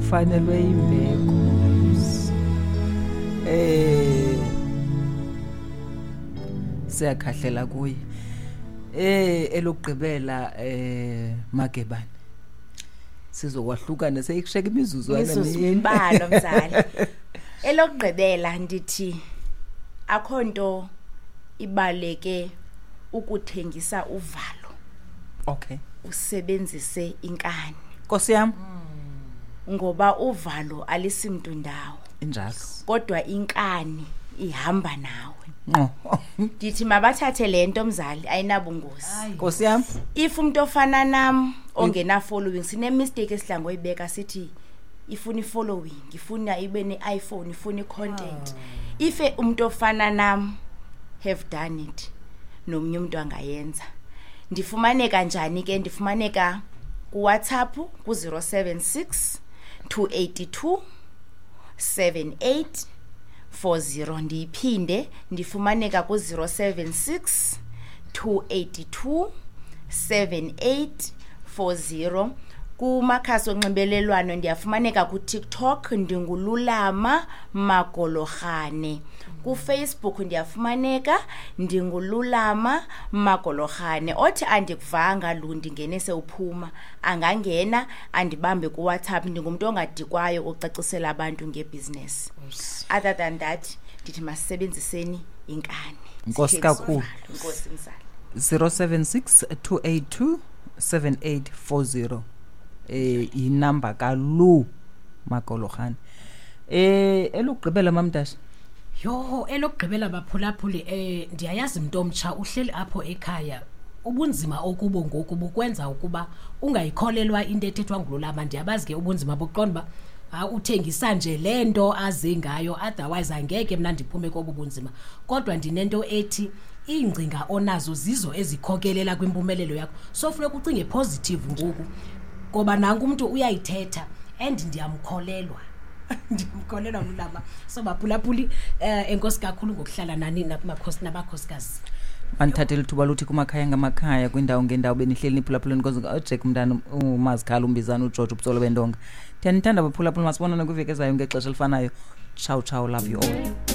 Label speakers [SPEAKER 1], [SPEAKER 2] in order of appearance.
[SPEAKER 1] Ufanelwe imbeko. Siyakhahlela kuye. Elokugqibela Magebane. Sizokwahlukana seyikusheka imizuzwana
[SPEAKER 2] Mizuzu
[SPEAKER 1] mine.
[SPEAKER 2] mbalwa mzali. Elokugqibela ndithi akho nto ibaleke ukuthengisa uvalo.
[SPEAKER 1] Okay.
[SPEAKER 2] Usebenzise inkani.
[SPEAKER 1] Nkosi yam.
[SPEAKER 2] Ngoba uvalo alisimntu ndawo.
[SPEAKER 1] Injalo.
[SPEAKER 2] Kodwa inkani ihamba nawe.
[SPEAKER 1] Ngqo.
[SPEAKER 2] Ndithi mabathathe le nto mzali, ayinabungozi.
[SPEAKER 1] Nkosi yam.
[SPEAKER 2] If umuntu ofana nam ongena following, sine mistake esidla ngoyibeka sithi ifuna i-following, ifuna ibe ne-iPhone, ifuna i-content. If umuntu ofana nam have done it, nomnye umuntu angayenza. Ndifumaneka njani ke? Ndifumaneka kuWhatsApp ku-076 282 7840. Ndiyiphinde, ndifumaneka ku-076 282 7840. Kumakhasi onxibelelwano ndiyafumaneka kuTikTok, ndinguLulama Magolorhane. KuFacebook ndiyafumaneka, ndinguLulama Magolorhane. Othi andikuvanga lu ndingene sewuphuma, angangena andibambe kuWhatsApp. Ndingumntu ongadikwayo ucacisela abantu ngebhizinesi. Other than that, ndithi masisebenziseni inkani.
[SPEAKER 1] Nkosi
[SPEAKER 2] Sithengise
[SPEAKER 1] kakhulu.
[SPEAKER 2] uvalo. Nkosi mzali.
[SPEAKER 1] 076 282 7840. Inamba kaLu Magolorhane. Elokugqibela Mamdasha.
[SPEAKER 3] Yho, elokugqibela baphulaphuli, ndiyayazi mntu omtsha uhleli apho ekhaya. Ubunzima okubo ngoku bukwenza ukuba ungayikholelwa into ethethwa nguLulama. Ndiyabazi ke ubunzima bokuqonda uba uthengisa nje le nto aze ngayo, otherwise angeke mna ndiphume kobu bunzima. Kodwa ndinento ethi iingcinga onazo zizo ezikhokelela kwimpumelelo yakho. So funeka ucinge positive ngoku, ngoba nanku umntu uyayithetha and ndiyamkholelwa. Ndiyamkholelwa Lulama. So baphulaphuli, enkosi kakhulu ngokuhlala nani nabakhosikazi.
[SPEAKER 1] Mandithathe lithuba luthi kumakhaya ngamakhaya, kwindawo ngendawo benihleli niphulaphuleni konze uJack umntana uMazikhala uMbizana uGeorge ubutsolo bendonga. Ndiyanithanda baphulaphuli, masibonane kwiveki ezayo ngexesha elifanayo. Ciao ciao, love you all.